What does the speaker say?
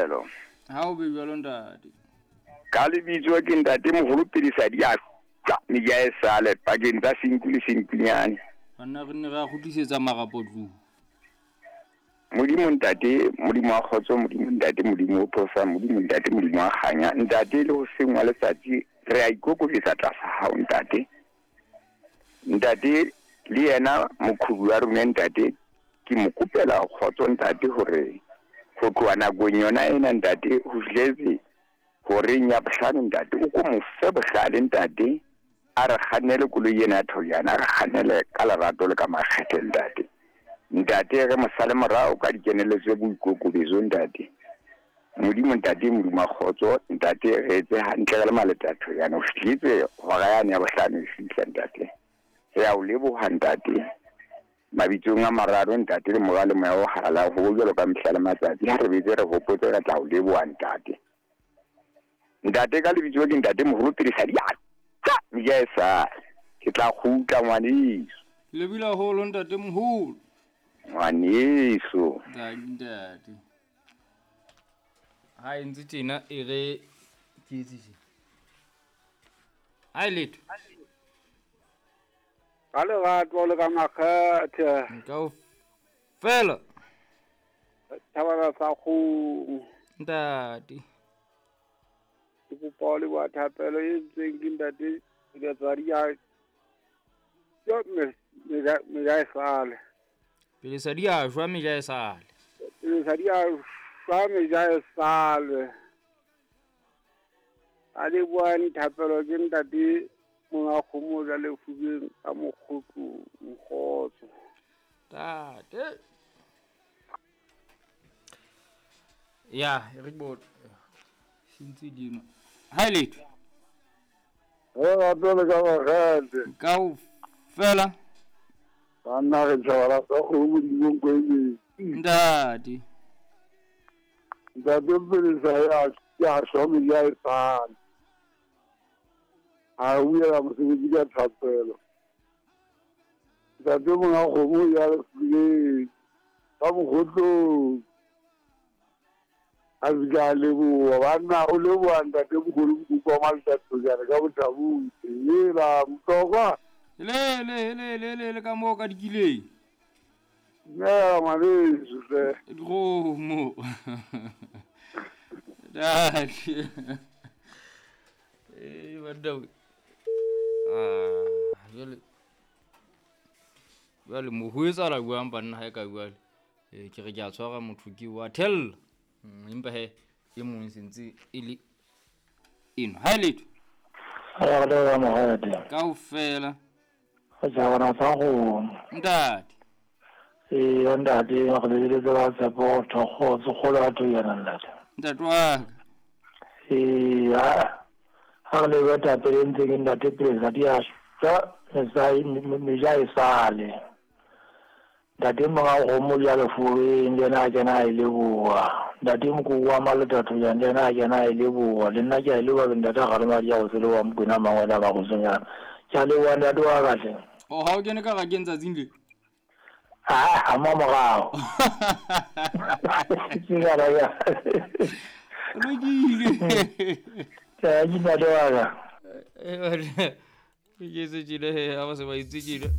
thapelo. Ha o be jwalo ntate. Ka lebitso ke ntate moholo Pedisa di a tla meja e sale pakeng tsa senku le senkunyane. Banna re nne re a kgutlisetsa marapo tlung. Modimo ntate, Modimo wa kgotso, Modimo ntate, Modimo o phosang, Modimo ntate, Modimo wa kganya. Ntate le hoseng wa letsatsi re a ikokobetsa tlasa hao ntate. Ntate le yena mokhubu wa rona ntate ke mo kopela kgotso ntate hore ho tloha nakong yona ena ntate ho fihletse horeng ya bohlano ntate o ko mo fe bohlale ntate a re kgannele koloi ena ya Thoyana a re kgannele ka lerato le ka makgethe ntate. Ntate re mo sale morao ka dikeneletso boikokobetso ntate. Modimo ntate Modimo wa kgotso ntate re etse hantle re le maleta a Thoyana ho fihletse hora yane ya bohlano e fihla ntate. Re a o leboha ntate. Mabitsong a mararo ntate le mora le moya o halalelang ho bo jwalo ka mehla le matsatsi ha re betse re hopotse re tla o leboha ntate. Ntate ka lebitso ke ntate moholo pele sa diatla meja e sale. Ke tla kgutla ngwaneso. Ke lebile haholo ntate moholo. Ngwaneso. Ntate ntate. Ha e ntse tjena e re ke etse tje. Ha e letho. Ka lerato le ka makgethe. Kaofela. Thabana sa kgomo. Ntate. Ke kopa ho leboha thapelo e entsweng ke ntate Letsadi ya yo meja e sale. Pele sa di a shwa meja e sale. Pele sa di a shwa meja e sale. A lebohang thapelo ke ntate monga kgomo ja lefubeng ka mokgotlo mokgotso. Ntate. Ya, re bo sentse dino. Ha letho. Re rato le ka makgethe. Kaofela. Banna re tjhabala sa kgomo modimong ko e Ntate. Ntate Pelesa ya shwa meja e sale. A buela mosebetsi ka thapelo. Ntate monga kgomo ya lefubeng ka mokgotlong. A se ka leboha banna o leboha ntate mogolo mokoko wa Maletathojana ka bothabutse. Hela Motlokwa. Le le le le le le ka moo ka dikileng. Dumela ngwaneso hle. Dikgomo. Ntate. Eh banna. Ah, jwale. Jwale mo ho etsahala jwang banna ha e ka jwale. Ke re ke a tshwara motho ke wa thella. Empa he e mong sentse e le eno. Ha e letho. Kaofela. Ntate. Ee ntate re lebeletse ba tshepo thokgotso kgolo ya Thoyana ntate. Ntate wa ka. Ee ha re leboha thapelo e ntseng ke ntate Pelesa di a shwa meja e sale. Ntate monga kgomo ja lefubeng le yena a kena a e leboha. Ntate mokoko wa Maleta Thoyana le yena a kena a e leboha. Le nna ke a e leboha ke ntate Kgalema di a go se leboha Mokwena Mangwele a Magosonyana. Ke a leboha ntate wa ka hle. O ha o kene ka rakeng tsatsing le? Ah, a morao. Ke ka ra. Lokile. Ke ntate wa ka. Ke se tjile he, ha ba se ba itse tjile.